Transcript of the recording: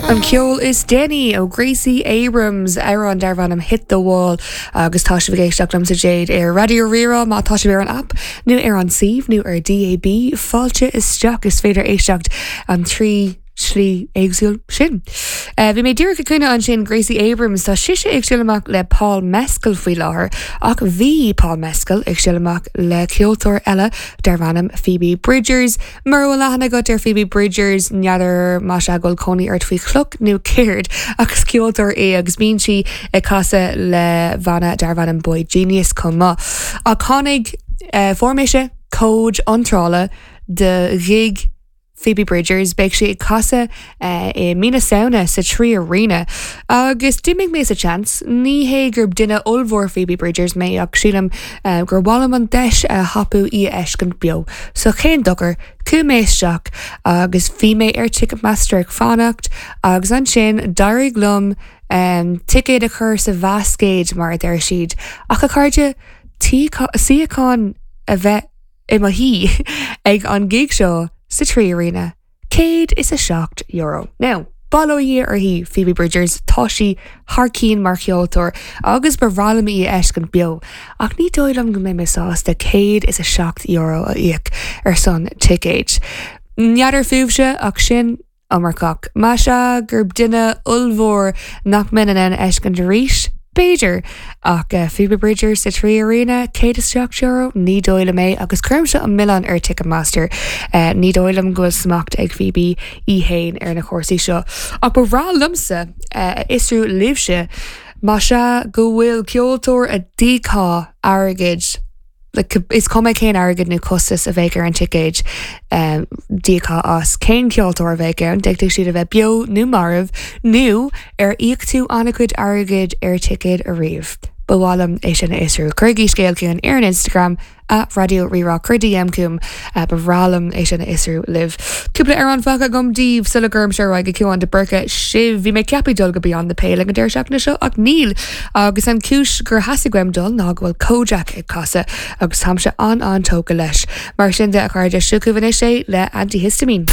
An ceol is déanaí ó Gracie Abrams, amhrán darb ainm Hit the Wall agus tá sibh ag éisteacht liomsa Jade ar Raidió Rí-Rá má tá sibh ar an app nó ar an suíomh nó ar DAB. Fáilte isteach, is féidir éisteacht an 3 slí éagsúil sin. Bhí mé díreach ag caoineadh ansin Gracie Abrams, tá sise ag siúl amach le Paul Mescal faoi láthair ach bhí Paul Mescal ag siúl amach le ceoltóir eile darb ainm Phoebe Bridgers. Mura bhfuil aithne agat ar Phoebe Bridgers, n'fheadar más ea go bhfuil cónaí ort faoi chloch nó céard, ach is ceoltóir í agus bíonn sí ag casadh le banna darb ainm boygenius chomh maith. Ach tháinig, fuair mise cód iontrála do ghig Phoebe Bridgers, beidh sí ag casadh i mí na Samhna sa 3Arena. Agus d'imigh mé sa tseans, ní hé gur duine ollmhór Phoebe Bridgers mé ach sílim gur mhaith liom an deis a thapú í a fheiscint beo. So cén dochar, chuaigh mé isteach agus bhí mé ar Ticketmaster ag fanacht agus ansin d'éirigh liom ticéad a chur sa bhascaed mar a deir siad. Ach a chairde, suíochán a bheith i mo shuí ag an gig seo sa 3Arena, €107. Now, bail ó Dhia uirthi, Phoebe Bridgers, tá sí thar cinn mar cheoltóir agus ba bhreá liom í a fheiscint beo, ach ní dóigh liom go mbeidh mé sásta €107 a íoc ar son ticéid. N'fheadar fúibhse, ach sin iomarcach. Más ea gurb duine ollmhór nach mbeinn in ann a fheiscint arís, b'fhéidir, ach Phoebe Bridgers sa 3Arena, €107? Ní dóigh liom é, agus cuirimse an milleán ar Ticketmaster. Ní dóigh liom go bhfuil smacht ag Phoebe í fhéin ar na cúrsaí seo. Ach ba bhreá liomsa a fhiosrú libhse, más ea go bhfuil ceoltóir a d'íocfá airgead, Is cuma cén airgead nó costas a bheadh ar an ticéad, d'íocfá as. Cén ceoltóir a bheadh ann? D'fhéadfadh siad a bheith beo nó marbh, nó ar íoc tú an-chuid airgid ar ticéad ariamh? Ba mhaith liom é sin a fhiosrú. Cuirigí scéal chugainn ar an Instagram, @Raidió Rí-Rá. Cuir DM chugam, ba bhreá liom é sin a fhiosrú libh. Cúpla amhrán fágtha agam daoibh sula gcuirimse ar aghaidh go Ciarán de Búrca sibh. Bhí mé ceaptha dul go Beyond the Pale ag an deireadh seachtaine seo ach níl agus an chúis gur theastaigh uaim dul ná go bhfuil Kojaque ag casadh agus táimse an-an-tógtha leis. Mar sin de a chairde, seo chugaibh anois é le Antihistamine.